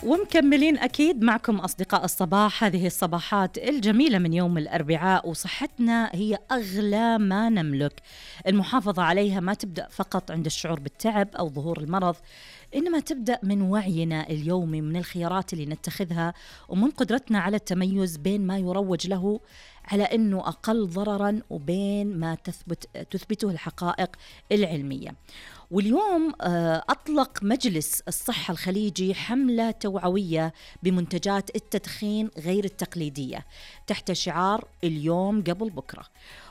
ومكملين أكيد معكم أصدقاء الصباح. هذه الصباحات الجميلة من يوم الأربعاء، وصحتنا هي أغلى ما نملك. المحافظة عليها ما تبدأ فقط عند الشعور بالتعب أو ظهور المرض، إنما تبدأ من وعينا اليومي، من الخيارات اللي نتخذها، ومن قدرتنا على التميز بين ما يروج له على أنه أقل ضرراً وبين ما تثبته الحقائق العلمية. واليوم أطلق مجلس الصحة الخليجي حملة توعوية بمنتجات التدخين غير التقليدية تحت شعار اليوم قبل بكرة،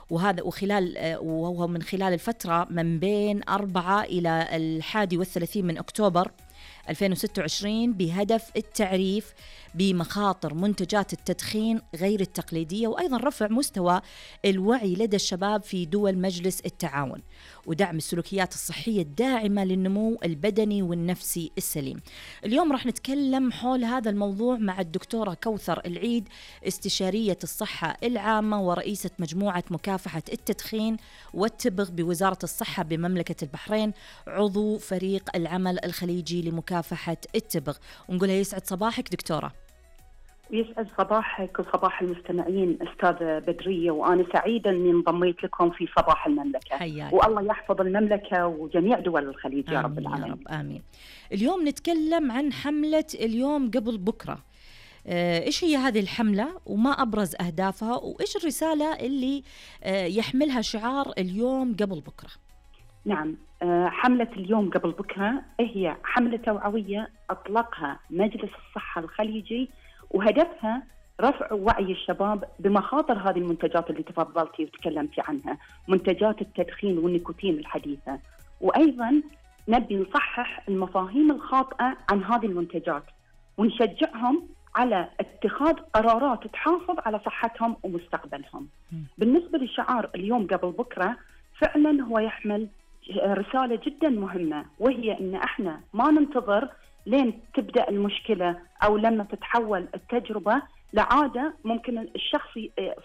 وهو من خلال الفترة من بين 4 إلى 31 من أكتوبر 2026، بهدف التعريف بمخاطر منتجات التدخين غير التقليدية، وأيضا رفع مستوى الوعي لدى الشباب في دول مجلس التعاون، ودعم السلوكيات الصحية الداعمة للنمو البدني والنفسي السليم. اليوم راح نتكلم حول هذا الموضوع مع الدكتورة كوثر العيد، استشارية الصحة العامة ورئيسة مجموعة مكافحة التدخين والتبغ بوزارة الصحة بمملكة البحرين، عضو فريق العمل الخليجي لمكافحة التبغ. ونقولها يسعد صباحك دكتورة. يسعد صباحك وصباح المستمعين أستاذة بدرية، وأنا سعيدة أني انضميت لكم في صباح المملكة. حياك. والله يحفظ المملكة وجميع دول الخليج يا رب العالمين. يا رب آمين. اليوم نتكلم عن حملة اليوم قبل بكرة. إيش هي هذه الحملة وما أبرز أهدافها، وإيش الرسالة اللي يحملها شعار اليوم قبل بكرة؟ نعم، حملة اليوم قبل بكرة هي حملة توعوية أطلقها مجلس الصحة الخليجي، وهدفها رفع وعي الشباب بمخاطر هذه المنتجات اللي تفضلتي وتكلمتي عنها، منتجات التدخين والنيكوتين الحديثة. وأيضا نبي نصحح المفاهيم الخاطئة عن هذه المنتجات، ونشجعهم على اتخاذ قرارات تحافظ على صحتهم ومستقبلهم. بالنسبة لشعار اليوم قبل بكرة، فعلا هو يحمل رسالة جدا مهمة، وهي أن احنا ما ننتظر لين تبدأ المشكلة أو لما تتحول التجربة لعادة ممكن الشخص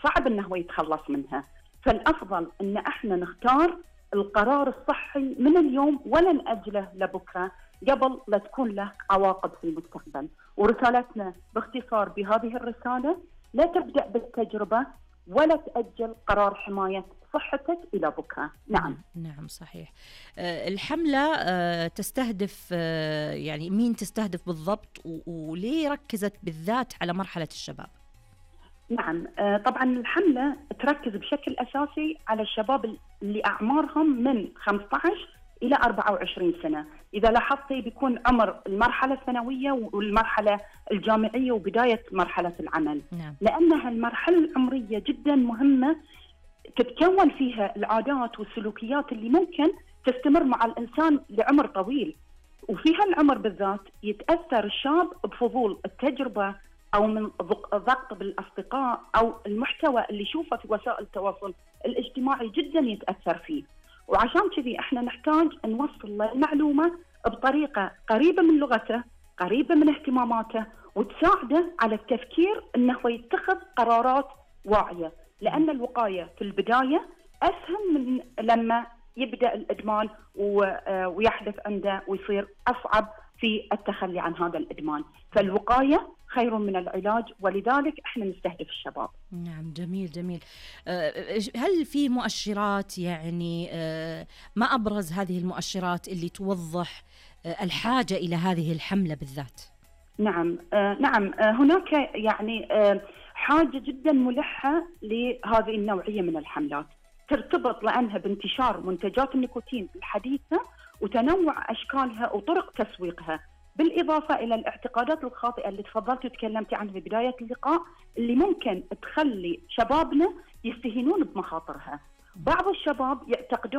صعب أنه يتخلص منها. فالأفضل أن احنا نختار القرار الصحي من اليوم ولا نأجله لبكرة قبل لا تكون له عواقب في المستقبل. ورسالتنا باختصار بهذه الرسالة: لا تبدأ بالتجربة ولا تأجل قرار حماية صحتك إلى بكرة. نعم صحيح. الحملة تستهدف يعني مين تستهدف بالضبط، وليه ركزت بالذات على مرحلة الشباب؟ نعم، طبعا الحملة تركز بشكل أساسي على الشباب اللي أعمارهم من 15 إلى 24 سنة. إذا لاحظتي بيكون عمر المرحلة الثانوية والمرحلة الجامعية وبداية مرحلة العمل. نعم. لأنها المرحلة العمرية جدا مهمة، تتكون فيها العادات والسلوكيات اللي ممكن تستمر مع الإنسان لعمر طويل. وفي هالعمر بالذات يتأثر الشاب بفضول التجربة أو من ضغط بالأصدقاء أو المحتوى اللي يشوفه في وسائل التواصل الاجتماعي جدا يتأثر فيه. وعشان كذي احنا نحتاج نوصل له المعلومة بطريقة قريبة من لغته، قريبة من اهتماماته، وتساعده على التفكير انه يتخذ قرارات واعية. لأن الوقاية في البداية أسهل من لما يبدأ الإدمان ويحدث عنده ويصير أصعب في التخلي عن هذا الإدمان. فالوقاية خير من العلاج، ولذلك احنا نستهدف الشباب. نعم، جميل جميل. هل في مؤشرات، يعني ما أبرز هذه المؤشرات اللي توضح الحاجة إلى هذه الحملة بالذات؟ نعم، هناك يعني حاجة جدا ملحة لهذه النوعية من الحملات، ترتبط لأنها بانتشار منتجات النيكوتين الحديثة وتنوع أشكالها وطرق تسويقها، بالإضافة إلى الاعتقادات الخاطئة اللي تفضلت وتكلمتي عنها في بداية اللقاء، اللي ممكن تخلي شبابنا يستهينون بمخاطرها. بعض الشباب يعتقدون